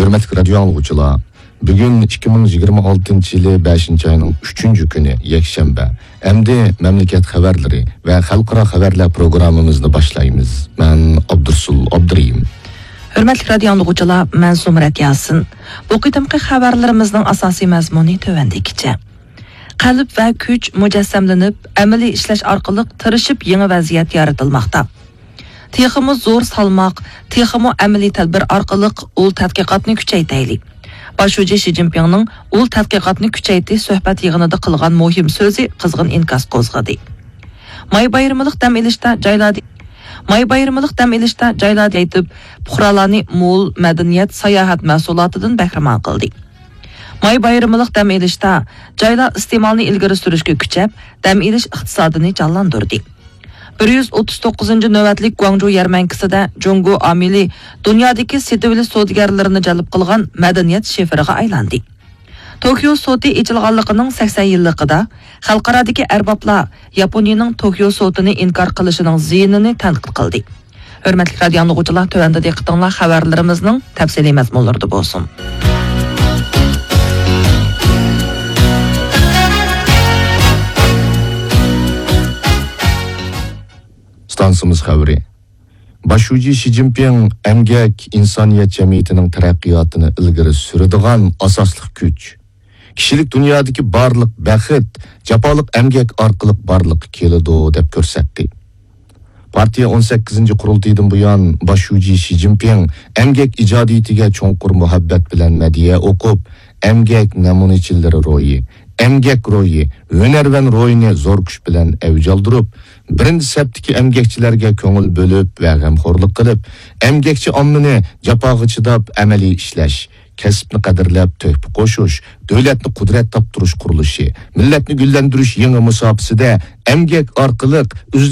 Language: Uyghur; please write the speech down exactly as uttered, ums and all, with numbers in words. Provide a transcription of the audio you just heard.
ھۆرمەتلىك رادىيو ئاڭلىغۇچىلار، بۈگۈن ئىككى مىڭ يىگىرمە ئالتىنچى يىلى بەشىنچى ئاينىڭ ئۈچىنچى كۈنى، يەكشەنبە. ئەمدى مەملىكەت خەۋەرلىرى ۋە خەلقئارا خەۋەرلەر پروگراممىمىزنى باشلايمىز. مەن ئابدۇرسۇل ئابدۇرېھىم. ھۆرمەتلىك رادىيو ئاڭلىغۇچىلار، مەن زۇمرەت ياسىن. بۇ قېتىمقى خەۋەرلىرىمىزنىڭ ئاساسىي مەزمۇنى تۆۋەندىكىچە. قەلب ۋە كۈچ مۇجەسسەملىنىپ، ئەمەلىي ئىشلەش ئارقىلىق تىرىشىپ يېڭى ۋەزىيەت يارىتىلماقتا. تېخىمۇ زور سالماق، تېخىمۇ ئەمەلىي تەدبىر ئارقىلىق ئۇل تەتقىقاتنى كۈچەيتەيلى. باش شۇجى شى جىنپىڭنىڭ ئۇل تەتقىقاتنى كۈچەيتىش سۆھبەت يىغىنىدا قىلغان مۇھىم سۆزى قىزغىن ئىنكاس قوزغىدى. ماي بايرىملىق دەم ئېلىشتا جايلاردا، ماي بايرىملىق دەم ئېلىشتا جايلاردا ئېيتىپ، پۇقرالارنى مول مەدەنىيەت، ساياھەت مەھسۇلاتىدىن بەھرىمەن قىلدى. ماي بايرىملىق دەم ئېلىشتا جايلار ئىستېمالنى ئىلگىرى سۈرۈشكە كۈچەپ، دەم ئېلىش ئىقتىسادىنى جانلاندۇردى. بىر يۈز ئوتتۇز توققۇزىنچى نۆۋەتلىك گۇاڭجۇ يەرمەنكىسىدە جۇڭگو ئامىلى دۇنيادىكى سېتىۋېلىش سودىگەرلىرىنى جەلپ قىلغان مەدەنىيەت شىفىرىغا ئايلاندى. توكيو سوتى ئېچىلغانلىقىنىڭ سەكسەن يىللىقىدا خەلقئارادىكى ئەربابلار ياپونىيىنىڭ توكيو سوتىنى ئىنكار قىلىشىنىڭ زىيىنىنى تەنقىد قىلدى. ھۆرمەتلىك رادىيو ئاڭلىغۇچىلار، تۆۋەندە دىققىتىڭلار خەۋەرلىرىمىزنىڭ تەپسىلىي مەزمۇنلىرىدا بولسۇن. ئىستانسىمىز خەۋىرى. باش شۇجى شى جىنپىڭ ئەمگەك ئىنسانىيەت جەمئىيىتىنىڭ تەرەققىياتىنى ئىلگىرى سۈرىدىغان ئاساسلىق كۈچ، كىشىلىك دۇنيادىكى بارلىق بەخت جاپالىق ئەمگەك ئارقىلىق بارلىققا كېلىدۇ، دەپ كۆرسەتتى. پارتىيە ئون سەككىزىنچى قۇرۇلتىيىدىن بۇيان، باش شۇجى شى جىنپىڭ ئەمگەك ئىجادىيىتىگە چوڭقۇر مۇھەببەت بىلەن مەدھىيە ئوقۇپ، ئەمگەك نەمۇنىچىلىرى روھى، ئەمگەك روھى، ھۈنەرۋەن روھىنى زور كۈچ بىلەن ئەۋج ئالدۇرۇپ، بىرىنچى سەپتىكى ئەمگەكچىلەرگە كۆڭۈل بۆلۈپ ۋە غەمخورلۇق قىلىپ، ئەمگەكچى ئاممىنى جاپاغا چىداپ، ئەمەلىي ئىشلەش، كەسىپنى قەدىرلەپ، تۆھپە قوشۇش، دۆلەتنى قۇدرەت تاپتۇرۇش قۇرۇلۇشى، مىللەتنى گۈللەندۈرۈش يېڭى مۇساپىسىدە ئەمگەك ئارقىلىق ئۈزلۈك